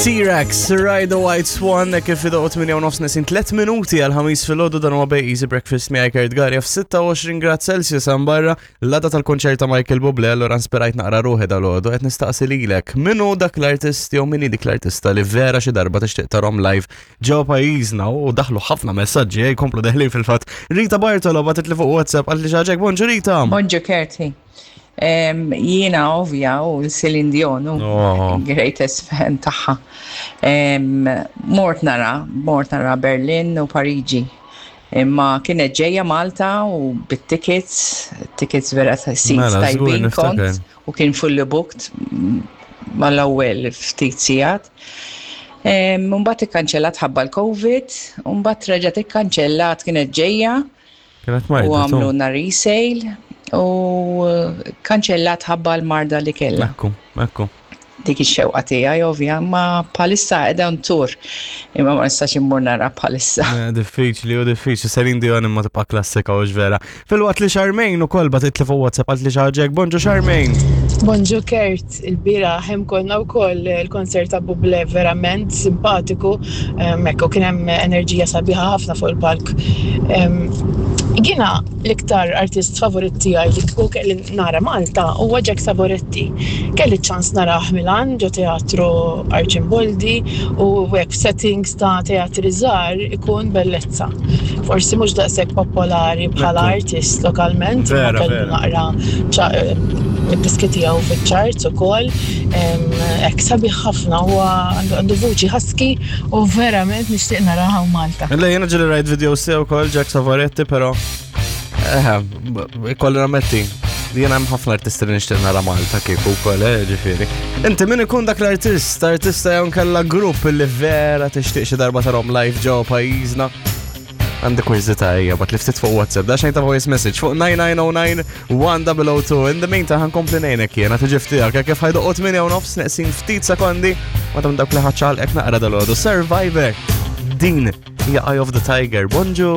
T-Rex, Ride the White Swan, kif idoq 8 u nofs nesin 3 minuti għal ħamis fil-ħodu dan huwa bej Easy Breakfast miegħi Kurt Garja f-26 grad Celsius hemm barra l-għada tal-konċert ta' Michael Bublé allura nspirajt naqra ruħi dal-għodu qed nistaqsi lilek min hu dak l-artist jew min hi dik l-artista li vera xi darba tixtieq tarhom live ġew pajjiżna u daħlu ħafna messaġġi eh, jkomplu deħlin fil-fatt. Rita Bartolo bagħtet li fuq WhatsApp qalt li xi ħaġa bonġu Rita. Bonġu Kerti. Jiena ovvja u l-Celine Dion u Oh. greatest fan tagħha. Mort nara, mort nara Berlin u Pariġi. Imma kienet ġejja Malta u bit-tickets, tickets vera ta' seats Mela, żgur tajbin niftakar. kont u kien fully booked mal-ewwel ftit sigħat. Mbagħad ikkanċellat ħabba l-Covid, u mbagħad reġgħet ikkanċellat kienet ġejja Kienet u marda. għamluna resale u kanċellat ħabba l-marda li kellha. Ekku, ekku. Dik ix-xewqa tiegħi ovvja, ma bħalissa qiegħda tour imma ma nistax immur nara bħalissa. Eh, Diffiċli u diffiċli, Celine Dion imma tibqa' klassika u vera. Filwaqt li Charmaine ukoll bagħtet li fuq WhatsApp qalt li xi ħaġa hekk, bonġu Charmaine. Bonġu Kurt, il-bieraħ hemm konna wkoll il-konsert ta' Bublé verament simpatiku, hekk u kien hemm enerġija sabiħa ħafna fuq il-palk. Jiena l-iktar artist favorit tiegħi li kieku kelli nara Malta huwa Jack Savoretti. Kelli ċ-ċans narah Milan ġo teatru Arcimboldi u hekk f'settings ta' teatri żgħar ikun bellezza. Forsi mhux daqshekk popolari bħala artist lokalment, imma Vera, kellu vera. naqra id-diski tiegħu fiċ-charts ukoll. Hekk sabiħ ħafna huwa għandu vuċi husky u verament nixtieq naraha hawn Malta. Le jiena ġieli rajt video sew ukoll Jack Savoretti, però eh, ikolli nammetti. Jiena hemm ħafna artisti li nixtieq nara Malta kieku wkoll, eh, ġifieri. Inti min ikun dak l-artist, artista jew nkella grupp li vera tixtieq xi darba tarhom live ġewwa pajjiżna? Għandi kurżità hija, bat li ftit fuq WhatsApp, da xejn ta' voice message fuq 9909 1002. In the meantime, ħankompli ngħinek jiena tiġi ftijak, kif ħajdoqgħod 8 u nofs neqsin ftit sekondi, ma tam dawk li ħaċċalqek naqra dal-għodu. Survivor, din hija Eye of the Tiger. Bonġu!